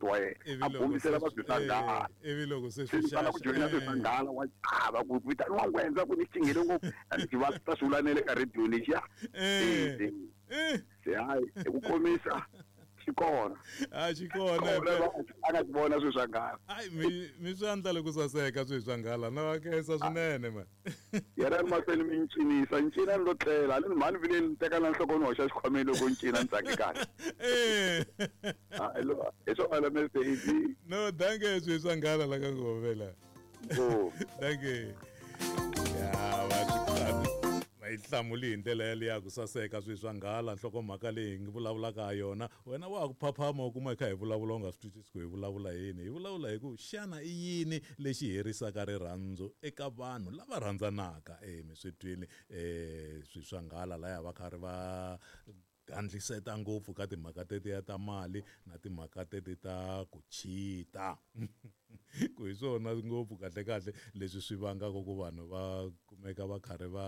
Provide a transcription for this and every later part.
wa yena Ivi a loko bombisela se va swi swa nghala ivi loko se se swi ni tala ku xaxa joyina swi swa nghala wa chava ku vitaniwa ngwendza ku ni xinghele ngopfu a ni va ta swi vula na le ka radio lexiya Eh. Eh. Se hayi hi ku komisa xi kona. A xi kona Kona impela. a nga swi vona swilo swa nghala. Hayi mi swi andlale ku saseka swilo swa nghala na va khensa swinene man. Yena ni mahlweni mi ni cinisa ni cina ni lo tlela a ni mhani vile ni teka na nhloko ni hoxa xikhwameni loko ni cina ni tsake kahle. Eh. Hayi lo hi swona Mr. AD. No, dankie swilo swa nghala la ka Ngovela. Oh. Dankie. Ya va swi va yi hlamuli hi ndlela yaliya ku saseka swilo swa nghala nhlokomhaka leyi hi ngi vulavulaka ha yona wena wa ha ku phaphama u kuma hi kha hi vulavula u nga swi twisisi ku hi vulavula yini hi vulavula hi ku xana i yini lexi herisaka rirhandzu eka vanhu lava rhandzanaka e mi swi twini um swilo swa nghala laya va karhi va gandliseta ngopfu ka timhaka tetiya ta mali na timhaka teti ta ku chita ku hi swona ngopfu kahle kahle leswi swi vangaka ku vanhu va kumeka va karhi va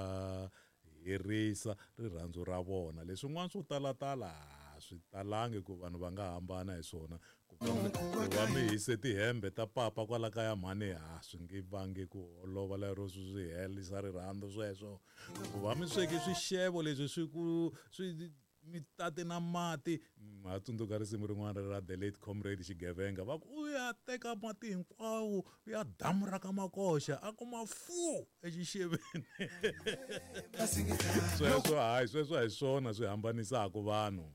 herisa rirhandzu ra vona leswin'wana swo talatala a swi talangi ku vanhu va nga hambana hi swona ku va mi hise tihembe ta papa kwala kaya mhani ha swi nge vangi ku holova lero swi swi herisa rirhandzu sweswo ku va mi sweke swixevo leswi swi ku swi mi tate na mati ha tsundzuka risimu rin'wana ra the late comrade xigevenga va ku u ya teka mati hinkwawo u ya damu ra ka makoxa a kuma fu exixeveni sweswo hayi sweswo a hi swona swi hambanisaka vanhu.